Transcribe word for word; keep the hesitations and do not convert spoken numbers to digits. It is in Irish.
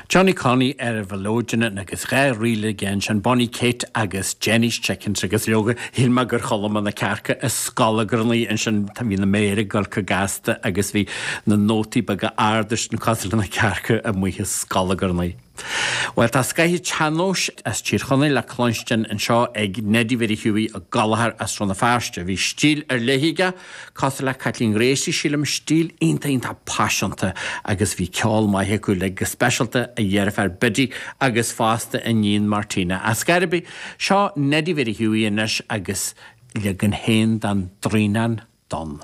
Johnny Connie ar an mhelodeon agus dhá ríl aige ansin Bonnie Kate agus Jenny's Chickens agus leoga shíl mé gur chuala mé na cearca ag scolagarnaí ansin tá bhí na méara ag dul chomh gasta agus bhí na nótaí beaga arda sin cosúil le na cearca amuigh ag scolagarnaí. Well tá scoth an tsean-nóis as Tír Chonaill le cluinstin anseo ag Neddy Mhary Hughie Ó Gallchóir as Rann na Feirste. Bhí stíl ar leith aige cosúil le Caitlín Gracie sílim stíl iontach iontach paiseanta agus bhí ceol maith acu le go speisialta a dheirfiúr Biddy agus fosta a iníon Martina. As Gairbi seo Neddy Mhary Hughie anois agus leagan féin den Draighneán Donn.